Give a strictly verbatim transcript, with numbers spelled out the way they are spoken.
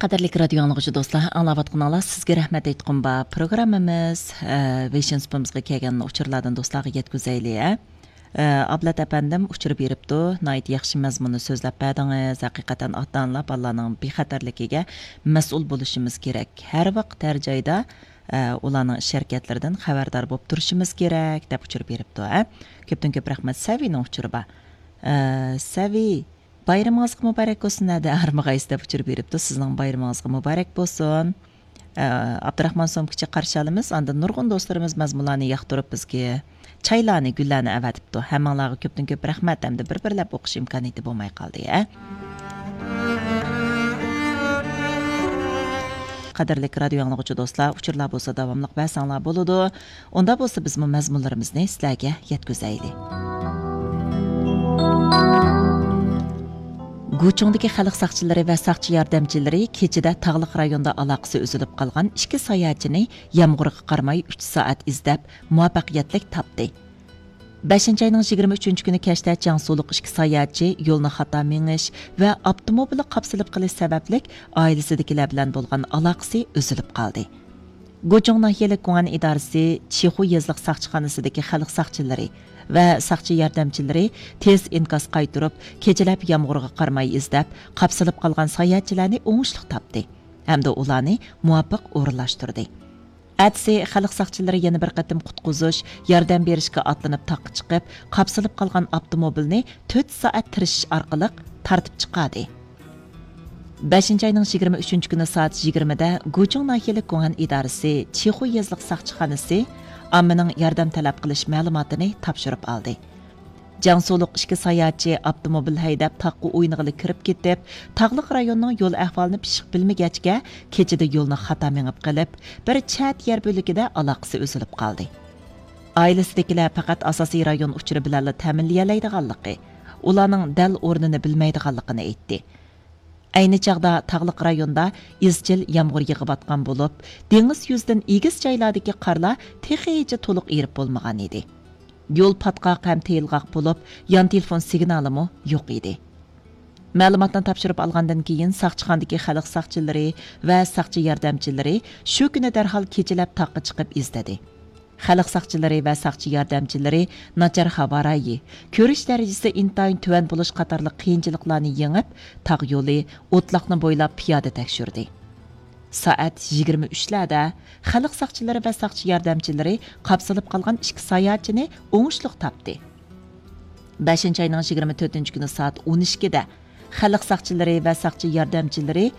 قەدىرلىك رادىيو ئاڭلىغۇچى دوستلار، ئاڭلاۋاتقىنىڭلار سىزگە رەھمەت ئېيتقۇم بار پروگراممىمىز، ئە، ۋېيشىن سۇپىمىزغا كەلگەن ئۇچۇرلاردىن دوستلارغا يەتكۈزەيلى، ئە. ئە، ئابلەت ئەپەندىم ئۇچۇر بېرىپتۇ، ناھايىتى ياخشى مەزمۇننى سۆزلەپ بەردىڭىز. ھەقىقەتەن ئاتا-ئانىلار بالىلارنىڭ بىخەتەرلىكىگە مەسئۇل بولۇشىمىز كېرەك. ھەر ۋاقىت، ھەر جايدا، ئە، ئۇلارنىڭ ئىش ھەرىكەتلىرىدىن خەۋەردار بولۇپ تۇرۇشىمىز كېرەك، دەپ ئۇچۇر بېرىپتۇ، ئە. كۆپتىن كۆپ رەھمەت. سەۋىنىڭ ئۇچۇرى بار. ئە، سەۋى، بايرىمىڭىزغا مۇبارەك بولسۇن، ھەدە ھارمىغايسىز دەپ ئۇچۇر بېرىپتۇ. سىزنىڭ بايرىمىڭىزغا مۇبارەك بولسۇن. ئە، ئابدۇراخمان سومكىچى قارشى ئالىمىز. ئاندىن نۇرغۇن دوستلىرىمىز مەزمۇنلارنى ياقتۇرۇپ بىزگە چايلارنى، گۈللەرنى ئەۋەتىپتۇ. ھەممىڭلارغا كۆپتىن كۆپ رەھمەت ھەمدە بىر بىرلەپ ئوقۇش ئىمكانىيىتى بولماي قالدى، ھە. قەدىرلىك رادىيو ئاڭلىغۇچى دوستلار، ئۇچۇرلار بولسا داۋاملىق بەرسەڭلار بولىدۇ. ئۇندا بولسا بىزمۇ مەزمۇنلىرىمىزنى سىلەرگە يەتكۈزەيلى. گۇچۇڭدىكى خەلق ساقچىلىرى ۋە ساقچى ياردەمچىلىرى كېچىدە تاغلىق رايوندا ئالاقىسى ئۈزۈلۈپ قالغان ئىككى ساياھەتچىنى يامغۇرغا قارىماي ئۈچ سائەت ئىزدەپ، مۇۋەپپەقىيەتلىك تاپتى. بەشىنچى ئاينىڭ يىگىرمە ئۈچىنچى كۈنى كەچتە جياڭسۇلۇق ئىككى ساياھەتچى يولنى خاتا مېڭىش ۋە ئاپتوموبىلى قاپسىلىپ قېلىش سەۋەبلىك ئائىلىسىدىكىلەر بىلەن بولغان ئالاقىسى ئۈزۈلۈپ قالدى. گۇچۇڭ ناھىيەلىك گۇڭئەن ئىدارىسى چىخۇ يېزىلىق ساقچىخانىسىدىكى خەلق ساقچىلىرى ۋە ساقچى ياردەمچىلىرى تېز ئىنكاس قايتۇرۇپ، كېچىلەپ يامغۇرغا قارىماي ئىزدەپ، قاپسىلىپ قالغان ساياھەتچىلەرنى ئوڭۇشلۇق تاپتى ھەمدە ئۇلارنى مۇۋاپىق ئورۇنلاشتۇردى. ئەتىسى خەلق ساقچىلىرى يەنە بىر قېتىم قۇتقۇزۇش، ياردەم بېرىشكە ئاتلىنىپ تاغقا چىقىپ، قاپسىلىپ قالغان ئاپتوموبىلنى تۆت سائەت تىرىشىش ئارقىلىق تارتىپ چىقاردى. بەشىنچى ئاينىڭ يىگىرمە ئۈچىنچى كۈنى سائەت يىگىرمىدە گۇچۇڭ ناھىيەلىك گۇڭئەن ئىدارىسى چىخۇ يېزىلىق ساقچىخانىسى ئاممىنىڭ ياردەم تەلەپ قىلىش مەلۇماتىنى تاپشۇرۇپ ئالدى. جياڭسۇلۇق ئىككى ساياھەتچى ئاپتوموبىل ھەيدەپ تاغقا ئوينىغىلى كىرىپ كېتىپ، تاغلىق رايوننىڭ يول ئەھۋالىنى پىششىق بىلمىگەچكە، كېچىدە يولنى خاتا مېڭىپ قېلىپ، بىر چەت يەر بۆلىكىدە ئالاقىسى ئۈزۈلۈپ قالدى. ئائىلىسىدىكىلەر پەقەت ئاساسىي رايون ئۇچۇرى بىلەنلا تەمىنلىيەلەيدىغانلىقى، ئۇلارنىڭ دەل ئورنىنى بىلمەيدىغانلىقىنى ئېيتتى. ئەينى چاغدا تاغلىق رايوندا ئىزچىل يامغۇر يېغىۋاتقان بولۇپ، دېڭىز يۈزىدىن ئېگىز جايلاردىكى قارلار تېخىچە تولۇق ئېرىپ بولمىغان ئىدى. يول پاتقاق ھەم تېيىلغاق بولۇپ، يان تېلېفون سىگنالىمۇ يوق ئىدى. مەلۇماتنى تاپشۇرۇپ ئالغاندىن كېيىن، ساقچىخانىدىكى خەلق ساقچىلىرى ۋە ساقچى ياردەمچىلىرى شۇ كۈنى دەرھال كېچىلەپ تاغقا چىقىپ ئىزدىدى. خەلق ساقچىلىرى ۋە ساقچى ياردەمچىلىرى ناچار ھاۋا رايى، كۆرۈش دەرىجىسى ئىنتايىن تۆۋەن بولۇش قاتارلىق قىيىنچىلىقلارنى يېڭىپ، تاغ يولى، ئوتلاقنى بويلاپ پىيادە تەكشۈردى. سائەت يىگىرمە ئۈچلەردە خەلق ساقچىلىرى ۋە ساقچى ياردەمچىلىرى قاپسىلىپ قالغان ئىككى ساياھەتچىنى ئوڭۇشلۇق تاپتى. بەشىنچى ئاينىڭ يىگىرمە تۆتىنچى كۈنى سائەت ئون ئىككىدە خەلق ساقچىلىرى ۋە ساقچى ياردەمچىلىرى